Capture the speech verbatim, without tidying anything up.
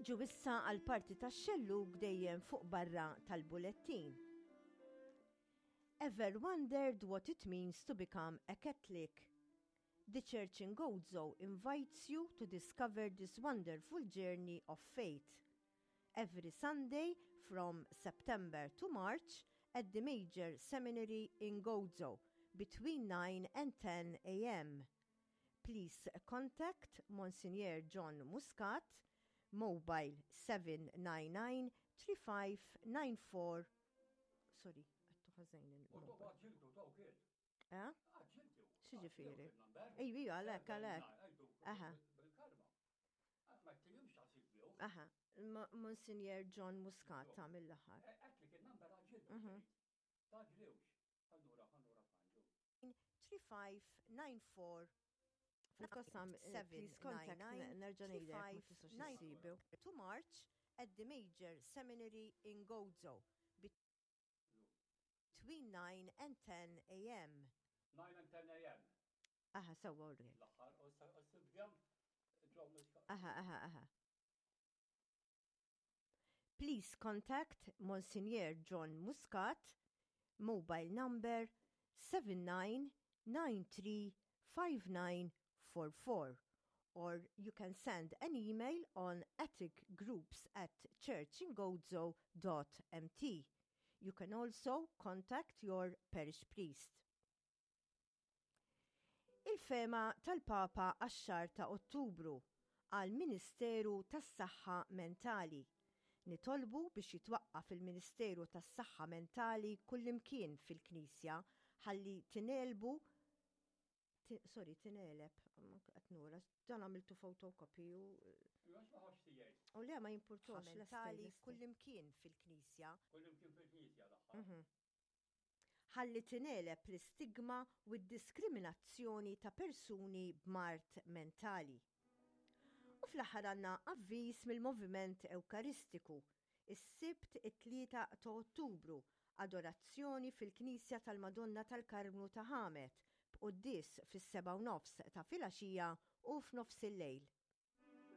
Niġu issa għal parti tax-xellug dejjem fuq barra tal-bulettin. Ever wondered what it means to become a Catholic? The Church in Gozo invites you to discover this wonderful journey of faith. Every Sunday from September to March at the Major Seminary in Gozo between nine and ten a m. Please contact Monsignor John Muscat, mobile seven nine nine three five nine four. Sorry, għedtu ħażin il-mobile. Eh? X'jiġifieri? Ejju, ejju, għalek, għalek. Aha. Aha, Ma- Monsignor John Muscat ta' mill-aħħar. Mhm. three five nine four. Fil-qasam, please contact, nerġa' ngħidlek ma tistax issibu. To March at the Major Seminary in Gozo between nine and ten a m nine and ten a m. Aha, sewwa urri. L-aħħar, u s-sibjam John Muscat. Aha, aha, aha. Please contact Monsignor John Muscat, mobile number seven nine nine three five nine four four, or you can send an email on atticgroups at churchingozo dot M T. You can also contact your parish priest. Il-fehma tal-Papa għax-xahar ta' Ottubru għal Ministeru tas-Saħħa Mentali. Nitolbu biex jitwaqqaf il-Ministeru tas-Saħħa Mentali kullimkien fil-Knisja ħalli tingħelbu, sorry, tingħeleb, qed nura, dan għamiltu photocopy u U le, ma jimpurtax mentali kullimkien fil-Knisja. Kullimkien fil-Knisja l-aħħar. Mhm. Ħalli tingħeleb l-istigma u d-diskriminazzjoni ta' persuni b'mard mentali. U fl-aħħar għandna avviż mill-Moviment Ewkaristiku. Is-Sibt it-tlieta ta' Ottubru, adorazzjoni fil-Knisja tal-Madonna tal-Karmnu ta' Ħamet, b'quddies fis-seba' u nofs ta' filgħaxija u f'nofs il-lejl.